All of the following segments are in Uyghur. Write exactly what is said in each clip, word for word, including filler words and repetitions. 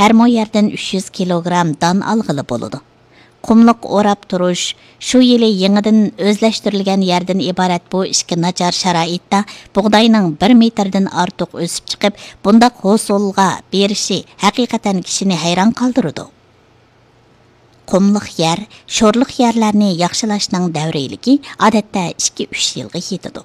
ھەر مو يەردىن ئۈچ يۈز كىلوگرام دان ئالغىلى بولىدۇ. قۇملۇق ئوراپ تۇرۇش، شۇ يىلى يېڭىدىن ئۆزلەشتۈرۈلگەن يەردىن ئىبارەت بۇ ئىككى ناچار شارائىتتا بۇغداينىڭ بىر مېتىردىن ئارتۇق ئۆسۈپ چىقىپ، بۇنداق ھوسۇلغا بېرىشى ھەقىقەتەن كىشىنى ھەيران قالدۇرىدۇ. قۇملۇق يەر، شورلۇق يەرلەرنى ياخشىلاشنىڭ دەۋرىيلىكى ئادەتتە ئىككى، ئۈچ يىلغا يېتىدۇ.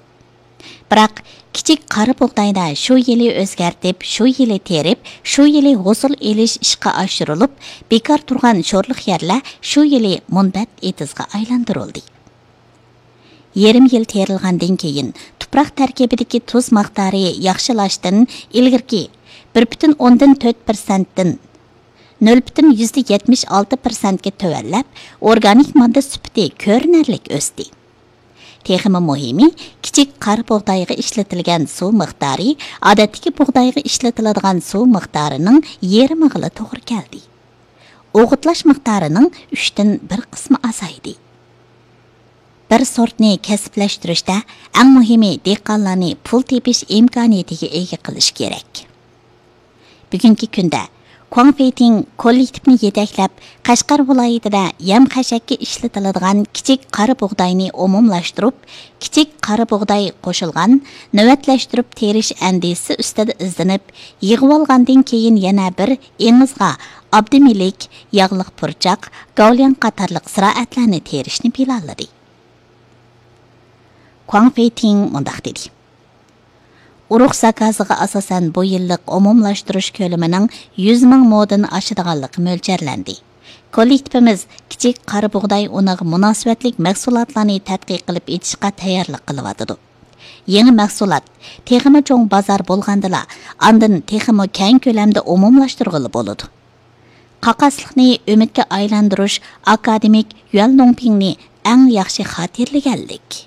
بىراق، كىچىك قارا بۇغدايدا شۇ يىلى ئۆزگەرتىپ، شۇ يىلى تېرىپ، شۇ يىلى ھوسۇل ئېلىش ئىشقا ئاشۇرۇلۇپ، بىكار تۇرغان شورلۇق يەرلەر شۇ يىلى مۇنبەت ئېتىزغا ئايلاندۇرۇلدى. يېرىم يىل تېرىلغاندىن كېيىن، تۇپراق تەركىبىدىكى تۇز مىقدارى ياخشىلاشتىن ئىلگىرىكى بىر پۈتۈن ئوندىن تۆت پىرسەنتتىن نۆل پۈتۈن يۈزدە يەتمىش ئالتە پىرسەنتكە تۆۋەنلەپ، ئورگانىك ماددا سۈپىتى كۆرۈنەرلىك ئۆستى. تېخىمۇ مۇھىمى، كىچىك قارا بۇغدايغا ئىشلىتىلگەن سۇ مىقدارى ئادەتتىكى بۇغدايغا ئىشلىتىلىدىغان سۇ مىقدارىنىڭ يېرىمىغىلا توغرا كەلدى. ئوغۇتلاش مىقدارىنىڭ ئۈچتىن بىر قىسمى ئازايدى. بىر سورتنى كەسىپلەشتۈرۈشتە ئەڭ مۇھىمى دېھقانلارنى پۇل تېپىش ئىمكانىيىتىگە ئىگە قىلىش كېرەك. بۈگۈنكى كۈندە، كۇاڭ فېيتىڭ كوللېكتىپنى يېتەكلەپ، قەشقەر ۋىلايىتىدە يەم خەشەككە ئىشلىتىلىدىغان كىچىك قارا بۇغداينى ئومۇملاشتۇرۇپ، كىچىك قارا بۇغداي قوشۇلغان نۆۋەتلەشتۈرۈپ تېرىش ئەندىزىسى ئۈستىدە ئىزدىنىپ، يىغىۋالغاندىن كېيىن يەنە بىر ئېڭىزغا ئابدىمىلىك، ياغلىق پۇرچاق، گاۋلياڭ قاتارلىق زىرائەتلەرنى تېرىشنى پىلانلىدى. كۇاڭ فېيتىڭ مۇنداق دېدى. ئۇرۇق زاكازىغا ئاساسەن، بۇ يىللىق ئومۇملاشتۇرۇش كۆلىمىنىڭ يۈز مىڭ مودىن ئاشىدىغانلىقى مۆلچەرلەندى. كوللېكتىپىمىز كىچىك قارا بۇغداي ئۇنىغا مۇناسىۋەتلىك مەھسۇلاتلارنى تەتقىق قىلىپ ئېچىشقا تەييارلىق قىلىۋاتىدۇ. يېڭى مەھسۇلات تېخىمۇ چوڭ بازار بولغاندىلا، ئاندىن تېخىمۇ كەڭ كۆلەمدە ئومۇملاشتۇرغىلى بولىدۇ. قاقاسلىقنى ئۈمىدكە ئايلاندۇرۇش ئاكادېمىك يۈەن لۇڭپىڭنى ئەڭ ياخشى خاتىرىلىگەنلىك.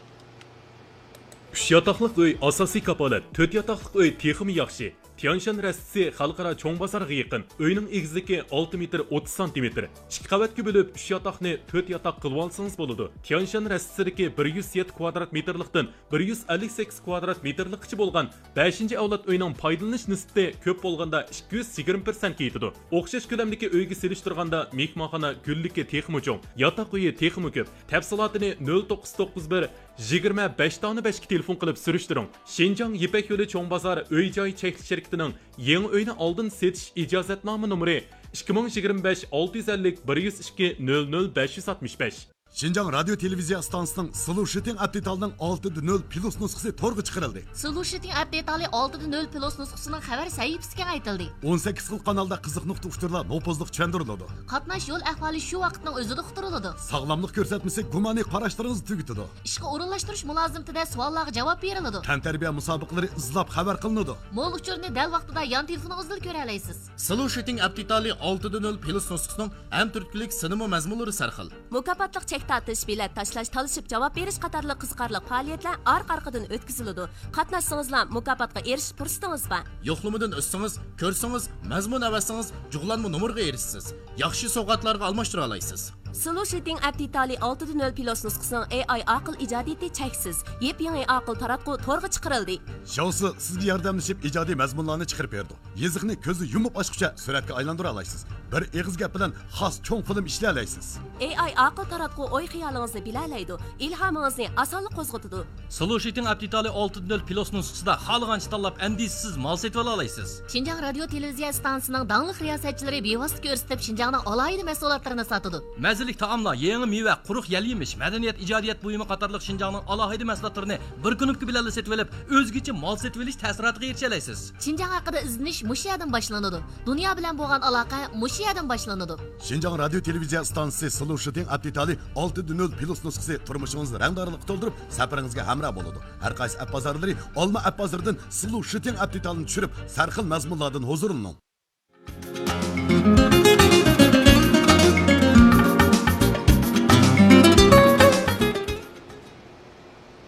ئۈچ ياتاقلىق ئۆي ئاساسىي كاپالەت، تۆت ياتاقلىق ئۆي تېخىمۇ ياخشى. تيانشان رەستىسى خەلقئارا چوڭ بازارغا يېقىن. ئۆينىڭ ئېگىزلىكى ئالتە مېتىر ئوتتۇز سانتىمېتىر. ئىككى قەۋەتكە بۆلۈپ، ئۈچ ياتاقنى تۆت ياتاق قىلىۋالسىڭىز بولىدۇ. تيانشان رەستىسىدىكى بىر يۈز يەتتە كۋادرات مېتىرلىقتىن بىر يۈز ئەللىك سەككىز كۋادرات مېتىرلىققىچە بولغان بەشىنچى ئەۋلاد ئۆينىڭ پايدىلىنىش نىسبىتى كۆپ بولغاندا ئىككى يۈز يىگىرمە پىرسەنتكە يېتىدۇ. ئوخشاش كۆلەمدىكى ئۆيگە سېلىشتۇرغاندا، مېھمانخانا گۈللۈكى تېخىمۇ چوڭ، ياتاق ئۆيى تېخىمۇ كۆپ. تەپسىلاتىنى نۆل توققۇز توققۇز بىر، يىگىرمە بەش تاغنى بەشكە تېلېفون قىلىپ سۈرۈشتۈرۈڭ. شىنجاڭ يىپەك يولى چوڭ بازار ئۆي جاي چەكلىك شىركىتىنىڭ يېڭى ئۆينى ئالدىن سېتىش ئىجازەتنامە نومۇرى ئىككى مىڭ يىگىرمە بەش ئالتە يۈز ئەللىك بىر يۈز ئىككى نۆل نۆل بەش يۈز ئاتمىش بەش. شىنجاڭ رادىيو تېلېۋىزىيە ئىستانسىسىنىڭ سلۇشىتىڭ ئەپ دېتالىنىڭ ئالتە دە نۆل پلۇس نۇسخىسى تورغا چىقىرىلدى. سلۇشىتىڭ ئەپ دېتالى ئالتە دە نۆل پلۇس نۇسخىسىنىڭ خەۋەر سەھىپىسى كېڭەيتىلدى. ئون سەككىز خىل قانالدا قىزىق نۇقتا ئۇچۇرلار نوپۇزلۇق چۈشەندۈرۈلىدۇ. قاتناش يول ئەھۋالى شۇ ۋاقىتنىڭ ئۆزىدە ئۇقتۇرۇلىدۇ. ساغلاملىق كۆرسەتمىسى گۇمانىي قاراشلىرىڭىزنى تۈگىتىدۇ. ئىشقا ئورۇنلاشتۇرۇش مۇلازىمىتىدە سوئاللارغا جاۋاب بېرىلىدۇ. تەنتەربىيە مۇسابىقىلىرى ئىزلاپ خەۋەر قىلىنىدۇ. مول ئۇچۇرنى دەل ۋاقتىدا يان تېلېفونىڭىزدىلا كۆرەلەيسىز. سلۇشىتىڭ ئەپ دېتالى ئالتە دە نۆل پلۇس نۇسخىسىنىڭ ھەم تۈرتكىلىك سىنىمۇ مەزمۇنلىرى سەرخىل. مۇكاپاتلىق چەك تارتىش، بېلەت تاشلاش، تالىشىپ جاۋاب بېرىش قاتارلىق قىزىقارلىق پائالىيەتلەر ئارقا-ئارقىدىن ئۆتكۈزۈلىدۇ. قاتناشسىڭىزلا مۇكاپاتقا ئېرىشىش پۇرسىتىڭىز بار. يوقلىمىدىن ئۆتسىڭىز، كۆرسىڭىز، مەزمۇن ئەۋەتسىڭىز، جۇغلانما نومۇرغا ئېرىشىسىز. ياخشى سوۋغاتلارغا ئالماشتۇرالايسىز. سلۇشىتىڭ ئەپ دېتالى ئالتە دە نۆل پلۇس نۇسخىسىنىڭ ئېي ئاي ئاقىل ئىجادىيىتى چەكسىز. يېپيېڭى ئاقىل تاراتقۇ تورغا چىقىرىلدى. شياۋسى سىزگە ياردەملىشىپ ئىجادىي مەزمۇنلارنى چىقىرىپ بېرىدۇ. يېزىقنى كۆزنى يۇمۇپ ئاچقۇچە سۈرەتكە ئايلاندۇرالايسىز. بىر ئېغىز گەپ بىلەن خاس چوڭ فىلىم ئىشلىيەلەيسىز. ئېي ئاي ئاقىل تاراتقۇ ئوي-خىيالىڭىزنى بىلەلەيدۇ، ئىلھامىڭىزنى ئاسانلا قوزغىتىدۇ. سلۇشىتىڭ ئەپ دېتالى ئالتە دە نۆل پلۇس نۇسخىسىدا خالىغانچە تاللاپ، ئەندىشىسىز مال سېتىۋالالايسىز. شىنجاڭ رادىيو تېلېۋىزىيە ئىستانسىسىنىڭ داڭلىق رىياسەتچىلىرى بىۋاسىتە كۆرسىتىپ، شىنجاڭنىڭ ئالاھىدە مەھسۇلاتلىرىنى ساتىدۇ. مەززىلىك تائاملار، يېڭى مېۋە، قۇرۇق يەل يېمىش، مەدەنىيەت، ئىجادىيەت بۇيۇمى قاتارلىق شىنجاڭنىڭ ئالاھىدە مەھسۇلاتلىرىنى بىر كۇنۇپكا بىلەنلا سېتىۋېلىپ، ئۆزگىچە مال سېتىۋېلىش تەسىراتىغا ئېرىشەلەيسىز. شىنجاڭ ھەققىدە ئىزدىنىش مۇشۇ يەردىن باشلىنىدۇ. دۇنيا بىلەن بولغان ئالاقە مۇشۇ يەردىن باشلىنىدۇ. شىنجاڭ رادىيو تېلېۋىزىيە ئىستانسىسى سلۇشىتىڭ ئەپ دېتالى ئالتە دە نۆل پلۇس نۇسخىسى تۇرمۇشىڭىزنى رەڭدارلىققا تولدۇرۇپ، سەپىرىڭىزگە ھەمراھ بولىدۇ. ھەر قايسى ئەپ بازارلىرى، ئالما ئەپ بازىرىدىن سلۇشىتىڭ ئەپ دېتالىنى چۈشۈرۈپ، سەرخىل مەزمۇنلاردىن ھۇزۇرلىنىڭ.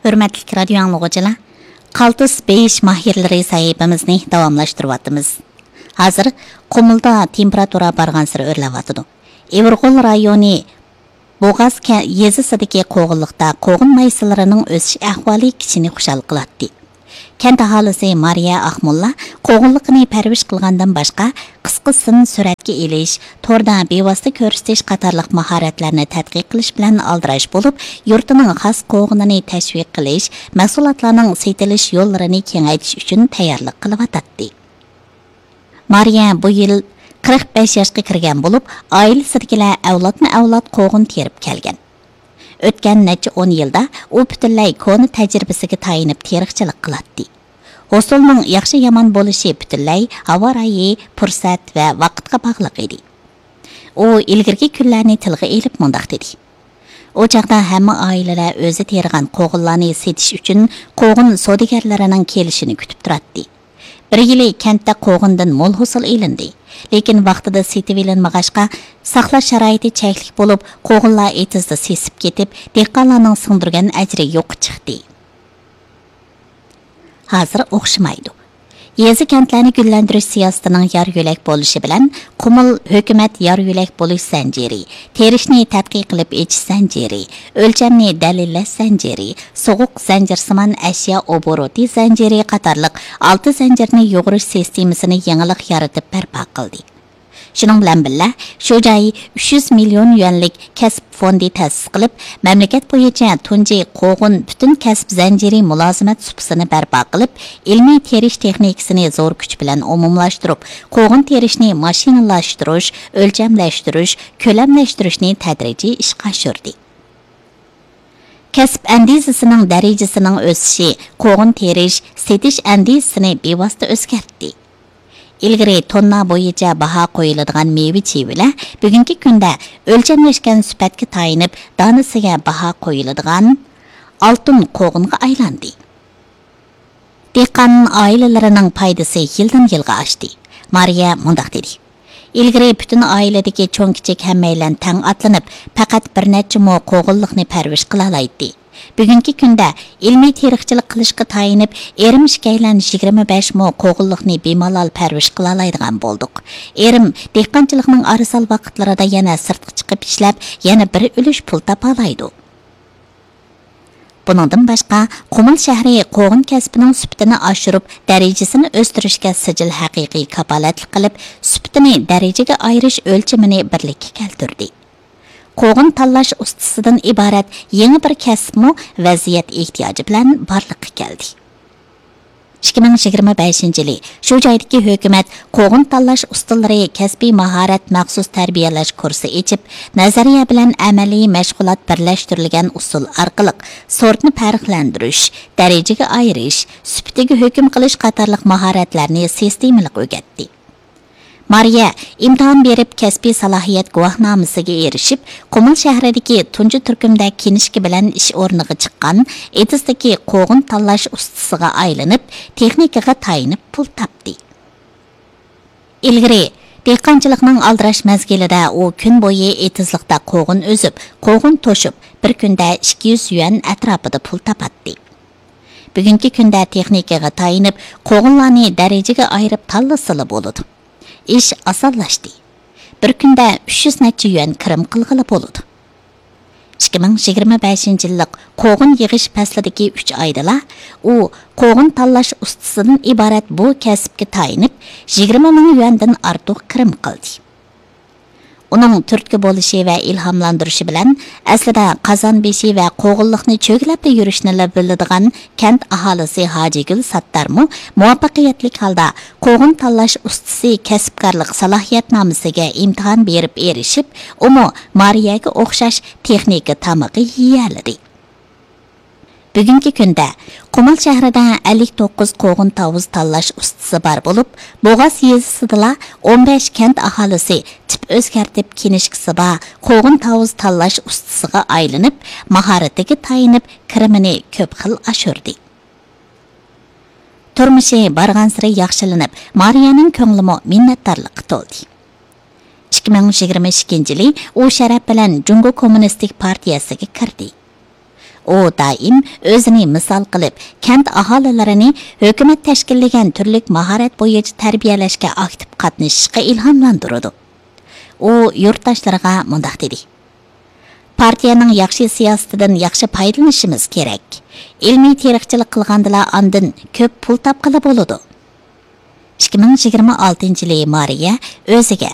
ھۆرمەتلىك رادىيو ئاڭلىغۇچىلار، قالتىس بېيىش ماھىرلىرى سەھىپىمىزنى داۋاملاشتۇرۇۋاتىمىز. ھازىر قۇمۇلدا تېمپېراتۇرا بارغانسېرى ئۆرلەۋاتىدۇ. ئېۋىرغول رايونى بوغاز كە-، يېزىسىدىكى قوغۇنلۇقتا قوغۇن مايسىلىرىنىڭ ئۆسۈش ئەھۋالى كىشىنى خۇشال قىلاتتى. كەنت ئاھالىسى مارىيە ئاقموللا قوغۇنلۇقىنى پەرۋىش قىلغاندىن باشقا، قىسقىسىدىن سۈرەتكە ئېلىش، توردا بىۋاسىتە كۆرسىتىش قاتارلىق ماھارەتلەرنى تەتقىق قىلىش بىلەن ئالدىراش بولۇپ، يۇرتىنىڭ خاس قوغۇنىنى تەشۋىق قىلىش، مەھسۇلاتلارنىڭ سېتىلىش يوللىرىنى كېڭەيتىش ئۈچۈن تەييارلىق قىلىۋاتاتتى. مارىيە بۇ يىل قىرىق بەش ياشقا كىرگەن بولۇپ، ئائىلىسىدىكىلەر ئەۋلادمۇ ئەۋلاد قوغۇن تېرىپ كەلگەن. ئۆتكەن نەچچە ئون يىلدا ئۇ پۈتۈنلەي كونا تەجرىبىسىگە تايىنىپ تېرىقچىلىق قىلاتتى. ھوسۇلنىڭ ياخشى-يامان بولۇشى پۈتۈنلەي ھاۋا رايى، پۇرسەت ۋە ۋاقىتقا باغلىق ئىدى. ئۇ ئىلگىرىكى كۈنلەرنى تىلغا ئېلىپ مۇنداق دېدى: ئۇ چاغدا ھەممە ئائىلىلەر ئۆزى تېرىغان قوغۇنلارنى سېتىش ئۈچۈن قوغۇن سودىگەرلىرىنىڭ كېلىشىنى كۈتۈپ تۇراتتى. بىر يىلى كەنتتە قوغۇندىن مول ھوسۇل ئېلىندى. لېكىن ۋاقتىدا سېتىۋېلىنمىغاچقا، ساقلاش شارائىتى چەكلىك بولۇپ، قوغۇنلار ئېتىزدا سېسىپ كېتىپ، دېھقانلارنىڭ سىڭدۈرگەن ئەجرى يوققا چىقتى. ھازىر ئوخشىمايدۇ. يېزا-كەنتلەرنى گۈللەندۈرۈش سىياسىتىنىڭ يار-يۆلەك بولۇشى بىلەن، قۇمۇل ھۆكۈمەت يار-يۆلەك بولۇش زەنجىرى، تېرىشنى تەتقىق قىلىپ ئېچىش زەنجىرى، ئۆلچەمنى دەلىللەش زەنجىرى، سوغۇق زەنجىرسىمان ئەشيا ئوبوروتى زەنجىرى قاتارلىق ئالتە زەنجىرنى يۇغۇرۇش سىستېمىسىنى يېڭىلىق يارىتىپ بەرپا قىلدى. شۇنىڭ بىلەن بىللە، شۇ جاي ئۈچ يۈز مىليون يۈەنلىك كەسىپ فوندى تەسىس قىلىپ، مەملىكەت بويىچە تۇنجى قوغۇن پۈتۈن كەسىپ زەنجىرى مۇلازىمەت سۇپىسىنى بەرپا قىلىپ، ئىلمىي تېرىش تېخنىكىسىنى زور كۈچ بىلەن ئومۇملاشتۇرۇپ، قوغۇن تېرىشنى ماشىنىلاشتۇرۇش، ئۆلچەملەشتۈرۈش، كۆلەملەشتۈرۈشنى تەدرىجىي ئىشقا ئاشۇردى. كەسىپ ئەندىزىسىنىڭ دەرىجىسىنىڭ ئۆسۈشى قوغۇن تېرىش، سېتىش ئەندىزىسىنى بىۋاسىتە ئۆزگەرتتى. ئىلگىرى توننا بويىچە باھا قويۇلىدىغان مېۋە-چېۋىلەر بۈگۈنكى كۈندە ئۆلچەملەشكەن سۈپەتكە تايىنىپ، دانىسىگە باھا قويۇلىدىغان ئالتۇن قوغۇنغا ئايلاندى. دېھقان ئائىلىلىرىنىڭ پايدىسى يىلدىن-يىلغا ئاشتى. مارىيە مۇنداق دېدى: ئىلگىرى پۈتۈن ئائىلىدىكى چوڭ-كىچىك ھەممەيلەن تەڭ ئاتلىنىپ، پەقەت بىر نەچچە مو قوغۇنلۇقنى پەرۋىش قىلالايتتى. بۈگۈنكى كۈندە ئىلمىي تېرىقچىلىق قىلىشقا تايىنىپ، ئېرىم ئىككىيلەن يىگىرمە بەش مو قوغۇنلۇقنى بىمالال پەرۋىش قىلالايدىغان بولدۇق. ئېرىم دېھقانچىلىقنىڭ ئارىسال ۋاقىتلىرىدا يەنە سىرتقا چىقىپ ئىشلەپ، يەنە بىر ئۈلۈش پۇل تاپالايدۇ. بۇنىڭدىن باشقا، قۇمۇل شەھىرى قوغۇن كەسپىنىڭ سۈپىتىنى ئاشۇرۇپ، دەرىجىسىنى ئۆستۈرۈشكە سىجىل ھەقىقىي كاپالەتلىك قىلىپ، سۈپىتىنى دەرىجىگە ئايرىش ئۆلچىمىنى بىرلىككە كەلتۈردى. قوغۇن تاللاش ئۇستىسىدىن ئىبارەت يېڭى بىر كەسىپمۇ ۋەزىيەت ئېھتىياجى بىلەن بارلىققا كەلدى. ئىككى مىڭ يىگىرمە بەشىنچى يىلى شۇ جايدىكى ھۆكۈمەت قوغۇن تاللاش ئۇستىلىرى كەسپىي ماھارەت مەخسۇس تەربىيەلەش كۇرسى ئېچىپ، نەزەرىيە بىلەن ئەمەلىي مەشغۇلات بىرلەشتۈرۈلگەن ئۇسۇل ئارقىلىق سورتنى پەرقلەندۈرۈش، دەرىجىگە ئايرىش، سۈپىتىگە ھۆكۈم قىلىش قاتارلىق ماھارەتلەرنى سىستېمىلىق ئۆگەتتى. مارىيە ئىمتىھان بېرىپ، كەسپىي سالاھىيەت گۇۋاھنامىسىگە ئېرىشىپ، قۇمۇل شەھىرىدىكى تۇنجى تۈركۈمدە كىنىشكا بىلەن ئىش ئورنىغا چىققان ئېتىزدىكى قوغۇن تاللاش ئۇستىسىغا ئايلىنىپ، تېخنىكىغا تايىنىپ پۇل تاپتى. ئىلگىرى دېھقانچىلىقنىڭ ئالدىراش مەزگىلىدە ئۇ كۈن بويى ئېتىزلىقتا قوغۇن ئۈزۈپ، قوغۇن توشۇپ، بىر كۈندە ئىككى يۈز يۈەن ئەتراپىدا پۇل تاپاتتى. بۈگۈنكى كۈندە تېخنىكىغا تايىنىپ، قوغۇنلارنى دەرىجىگە ئايرىپ تاللىسىلا بولىدۇ. ئىش ئاسانلاشتى. بىر كۈندە ئۈچ يۈز نەچچە يۈەن كىرىم قىلغىلى بولىدۇ. ئىككى مىڭ يىگىرمە بەشىنچى يىللىق قوغۇن يىغىش پەسلىدىكى ئۈچ ئايدىلا ئۇ قوغۇن تاللاش ئۇستىسىدىن ئىبارەت بۇ كەسىپكە تايىنىپ، يىگىرمە مىڭ يۈەندىن ئارتۇق كىرىم قىلدى. ئۇنىڭ تۈرتكە بولۇشى ۋە ئىلھاملاندۇرۇشى بىلەن، ئەسلىدە قازان بېشى ۋە قوغۇنلۇقنى چۆگىلەپلا يۈرۈشنىلا بىلىدىغان كەنت ئاھالىسى ھاجىگۈل ساتتارمۇ مۇۋەپپەقىيەتلىك ھالدا قوغۇن تاللاش ئۇستىسى كەسىپكارلىق سالاھىيەتنامىسىگە ئىمتىھان بېرىپ ئېرىشىپ، ئۇمۇ مارىيەگە ئوخشاش تېخنىكا تامىقى يېيەلىدى. بۈگۈنكى كۈندە قۇمۇل شەھىرىدە ئەللىك توققۇز قوغۇن تاۋۇز تاللاش ئۇستىسى بار بولۇپ، بوغاز يېزىسىدىلا ئون بەش كەنت ئاھالىسى تىپ ئۆزگەرتىپ كىنىشكىسى بار قوغۇن تاۋۇز تاللاش ئۇستىسىغا ئايلىنىپ، ماھارىتىگە تايىنىپ، كىرىمىنى كۆپ خىل ئاشۇردى. تۇرمۇشى بارغانسېرى ياخشىلىنىپ، مارىيەنىڭ كۆڭلىمۇ مىننەتدارلىققا تولدى. ئىككى مىڭ يىگىرمە ئىككىنچى يىلى ئۇ شەرەپ بىلەن جۇڭگو كوممۇنىستىك پارتىيەسىگە كىردى. ئۇ دائىم ئۆزىنى مىسال قىلىپ، كەنت ئاھالىلىرىنى ھۆكۈمەت تەشكىللىگەن تۈرلۈك ماھارەت بويىچە تەربىيەلەشكە ئاكتىپ قاتنىشىشقا ئىلھاملاندۇرىدۇ. ئۇ يۇرتداشلىرىغا مۇنداق دېدى: پارتىيەنىڭ ياخشى سىياسىتىدىن ياخشى پايدىلىنىشىمىز كېرەك. ئىلمىي تېرىقچىلىق قىلغاندىلا ئاندىن كۆپ پۇل تاپقىلى بولىدۇ. ئىككى مىڭ يىگىرمە ئالتىنچى يىلى مارىيە ئۆزىگە